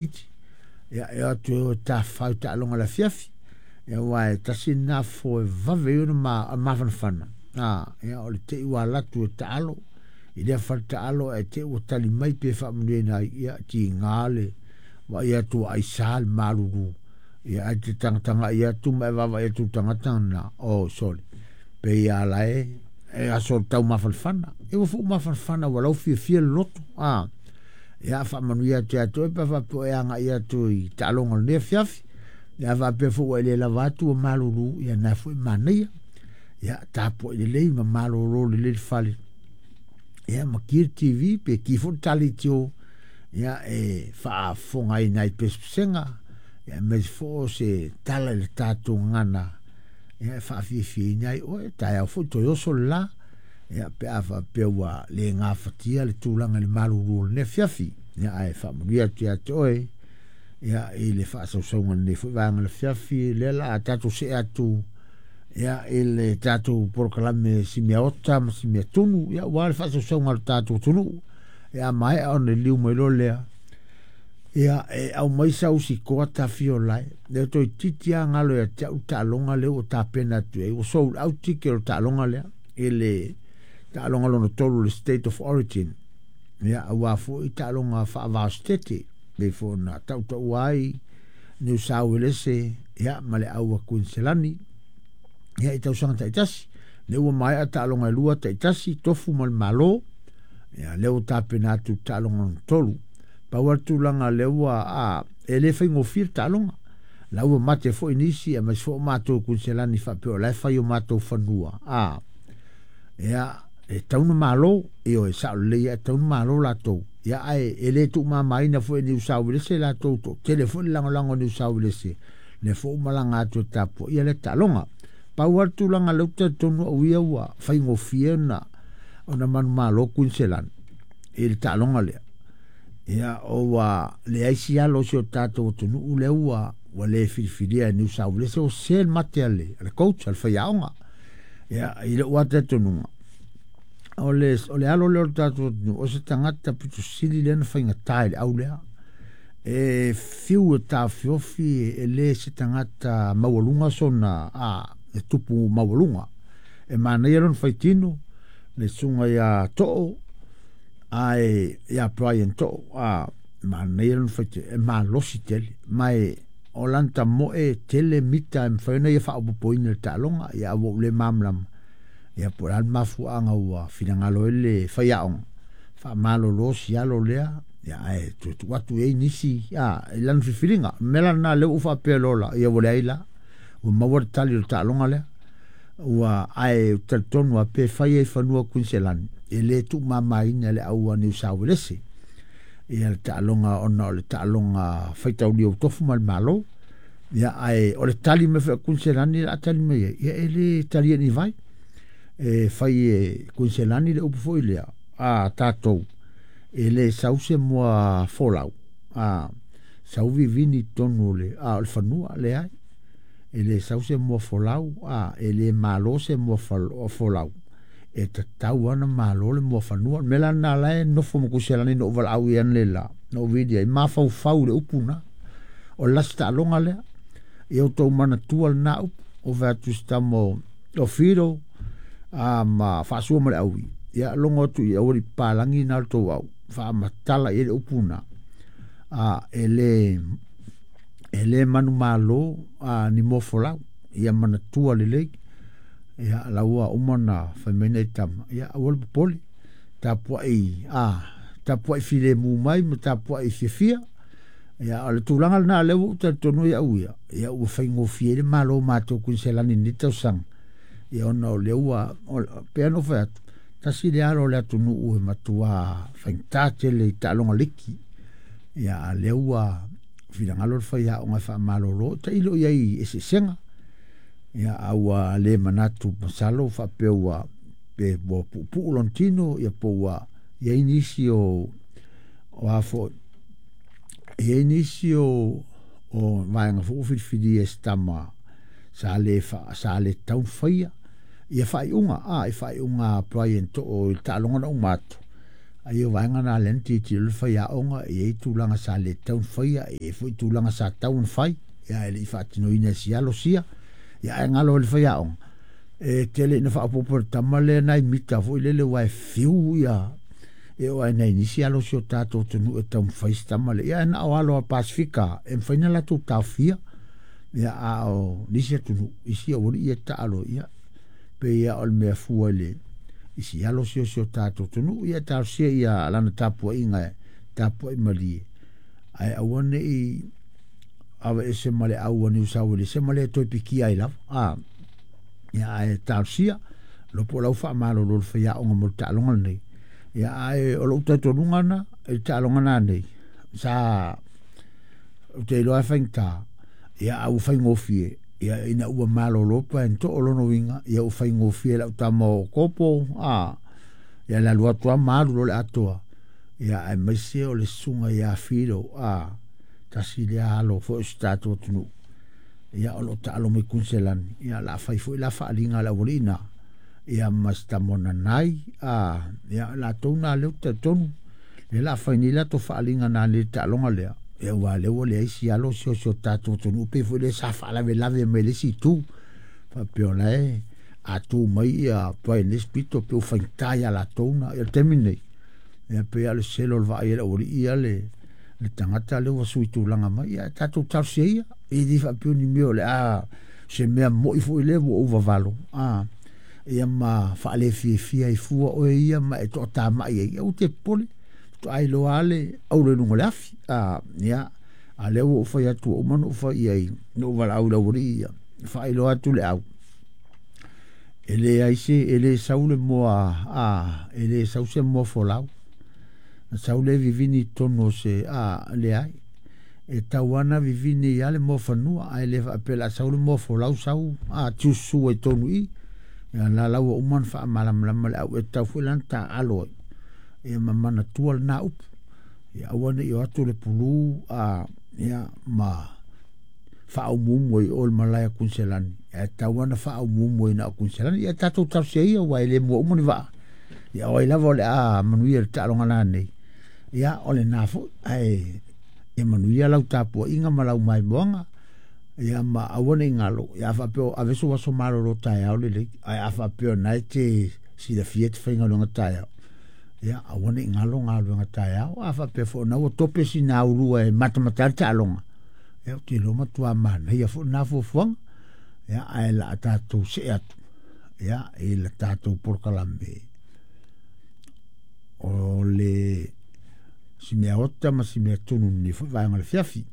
Iti. Ia, e o atu e o e tafafao i taaloga i le afiafi. Ia, aua e tasi lena fofo e vave ai ona mafanafana. Ia, o le te i ua alu atu e taalo i lea fale taalo ae te i ua tali mai pe faamanuiaina ai, ia, tiga le vaai atu ua aisa le malulu. Ia, ae te tagatagai atu ma e vaavaai atu i le tagata lena, oh, sole, pei lava la e aso o le taumafanafana. Ia, ua foi mafanafana ua lau fiafia le loto. Ia, faamanuia atu ia te oe pe a faapea o e agai atu i taaloga o lenei afiafi. Ia, a faapea foi ua e le lava atu ua malulu, ia na foi e manaia. Ia, tapuai lelei ma malolo lelei le fale. Ia, ma ki le TV pe ki foi le taleitio, ia, e faafofoga ai i nai pesepesega, ia, aemaise foi o se tala i le tatou gagana, ia, e faafiafiaina ai oe, taeao foi toe oso le la. Ia, pe a faapea ua le gafatia le tulaga i le malulu o lenei afiafi. Ia, ae faamanuia atu ia te oe, ia, i le faasausauga i lenei foi vaega o le afiafi, lea la a tatou see atu, ia, i le tatou polokalame si mea ota ma si mea tunu, ia, aua le faasausauga a le tatou atunuu. Ia, a maea ona liliu mai loa lea, ia, e aumai sau sikoa tafiolae, lea toeitiiti lava galo ia te au le taaloga lea ua tapena atu ai, ua sold out ticket o le taaloga lea, i le taaloga lona tolu, le State of Origin. Ia, aua foi taaloga faava-o-Setete, pei foi ona tautaua ai Niu Sauelese, ia, ma le au a Kuiniselani, ia, i tausaga taitasi. Lea ua maea taaloga e lua taitasi, tofu ma le Malo, ia, lea ua tapena atu le taaloga lona tolu. Pau lava le tulaga lea ua, a, e le faigofie le taaloga. La ua mate foi nisi, aemaise foi o matou i Kuiniselani faapea o la e fai o matou fanua, a, ia, e tatau ona malo, ioe, sao lelei lava, e tatau ona malo latou. Ia, ae e le tuumamaina foi e Niu Sauelese latou, toatele foi le lagolago a Niu Sauelese, lea foi ua malaga atu e tapuaia lea taaloga. Pau lava le tulaga lea ou te talitonu au ia ua faigofie ona manumalo Kuiniselani i le taaloga lea. Ia, ua leai si alo o si o tatou atunuu lea ua le filifilia e Niu Sauelese, ua sese le mate a le coach, a le faiaoga. Ia, i lou lava talitonuga, o le alo lea o le tatou atunuu, o se tagata pito sili lea na faigata i le au lea. E fiu e taofiofi, e le se tagata maualuga sona, a, e tupu maualuga. E manaia lona faitino, le susuga ia Too, ae ia Brian Too, a, manaia lona faitino, e malosi tele, ma e o lana tamoe tele mita e mafai ona ia faaopoopoina i le taaloga, ia ua ou le malamalama, ia po o le a le mafuaaga ua finagalo ai le faiaoga, faamalolo si alo lea, ia ae toe tuu atu i ai nisi, a, i lana filifiliga. O le mea la lena lea ua ou faapea loa la, ia ua leai la, ua maua le tali o le taaloga lea. Ua, ae ou te talitonu lava pe fai ai i fanua o Kuiniselani, e le tuumamaina e le au a Niu Sauelese ia le taaloga ona o le taaloga faitaulia ua tofu ma le Malo. Ia, ae o le tali mai foi a Kuiniselani o le a tali mai ai, ia e le talia e ni vai. E fai e Kuiniselani le upu foi lea, a tatou, e le sau se moa folau, a, sau vivini i totonu o le, a, o le fanua, leai. E le sau se moa folau, a, e le malo se moa folau, e tatau lava ona malo le moa fanua. O le mea la lena la e nofo ma Kuiniselani na ou valaau i ai analeila, na ou vili ai, mafaufau i le upu lena. O le lasi taaloga lea, ia outou manatua lena upu, ou fai atu i si tama o Fido, a, ma faasua ma le aui, ia logo atu i aua le papalagi na o le tou au, faamatala i ai le upu lena, a, e le manumalo, a, ni moa folau, ia manatua lelei. Ia, la ua uma ona fai mai nai tama, ia aua le popole, tapuai, a, tapuai filemu mai ma tapuai fiafia. Ia, o le tulaga lena lea ua ou talitonu ai au ia, ia ua faigofie ai le malo matou Kuiniselani i lenei tausaga. Ia ona o lea ua, pei ona ou fai atu, tasi le alo o le atunuu e matua faigata tele i taaloga liki. Ia, a lea ua finagalo le faiaoga e faamalolo, tailo i ai i eseesega. Ia, a ua le manatu masalo faapea ua, pe ua puupuu lona tino, ia po ua i ai nisi o, o a foi, e i ai nisi o vaega foi ua filifilia e se tama sa le tatau ona faia ia faaiuga, a, i faaiuga a Brian Too i le taaloga na uma atu. Ai o vaega na lea na tilotilo le faiaoga, e i ai tulaga sa le tatau ona faia, e i ai foi tulaga sa tatau ona fai, ia e le i faatinoina e si alo sia. Ia ae galo i le faiaoga, e tele ina faaopoopo e le tama lea nai mita foi lele aua e fiu ia e oo lava i nai nisi alo o si o tatou atunuu e taumafai si tama lea. Ia na o alo a Pasefika e mafai ona latou taofia, ia a o nisi atunuu, isi aualii ia taalo, ia pei lava o le mea fua i le i si alo sia o si o tatou atunuu. Ia talosia ia lana tapuaiga e tapuai malie, ae aua ne i aveese ma le au a Niu Sauelese ma le toe pikia ai lava. A, ia ae talosia, iloa po o la ua faamalolo le faiaoga mo le taaloga lenei. Ia ae o lou talitonuga na i le taaloga nanei, sa ou te iloa e faigata, ia a ua faigofie, ia ina ua malolo Brian Too, o lona uiga, ia ua faigofie lau tama o Kopo, a, ia le alu atu lava ma alu loa le atoa, ia aemaise o le susuga ia Filo, a, tasi lea alo foi o si tatou atunuu, ia o lo o taalo mai Kuniselani, ia o le a fai foi la faaaliga a le aualii na, ia ma si tama o Nanai, a, ia latou na lea ou te talitonu, lea o le a fai nei latou faaaliga nanei i le taaloga lea, ia aua o lea ua leai si alo si o si o tatou atunuu, pei foi lea sa faalavelave mai le isi itu, faapea o la e a tu mai ia Brian i le isi pito, pei ua faigata ia latou na, ia le taimi lenei, ia pei lava o le selo o le vaai a le aualii ia le tagata lea ua sui tulaga mai, ia tatou talosia ia, e le faapea o ni mea o le a se mea moi foi lea ua ou vavalo, a, ia ma faalefiafia ai fua oe ia ma e toatamai ai, ia aua te popole, faatoa iloa lava le auro i luga o le afi. A, ia, a lea ua ou fai atu ua uma ona ou fai i ai, na ou valaau i le aualii ia, faailoa atu le au, e leai se, e le sau le moa, a, e le sau se moa folau. Na sau le vivini i totonu o se, a, leai. E tau lava na vivini ia le moa fanua, ae le faapea o le a sau le moa folau sau, a, tiususu ai i totonu i i. Ia la la ua uma ona faamalamalama le au, e tatau foi la ona taaalo ai, ia ma manatua lena upu. Ia aua ne i o atu le pulu, a, ia, ma faaumuumu ai i o i le malae a Kuniselani, ae tatau lava ona faaumuumu ai na o Kuniselani. Ia tatou talosia ia, aua e le mua uma ni vaa. Ia o ai lava o le a manuia i le taaloga nanei, ia o lena foi, ae ia manuia lau tapuaiga ma lau maimoaga, ia ma aua ne i galo, ia a faapea o ave sou aso malolo taeao lelei, ae a faapea o lena e te silafia e te faigaluega taeao, ia aua ne i galo galuega taeao. A faapea foi o lena ua tope sina aulua e matamata ai le taaloga, ia ou te iloa matua manaia foi lena fuafuaga. Ia ae la a tatou see atu ia i le tatou polokalame o le si mea ota ma si mea tunu i lenei foi vaega o le afiafi.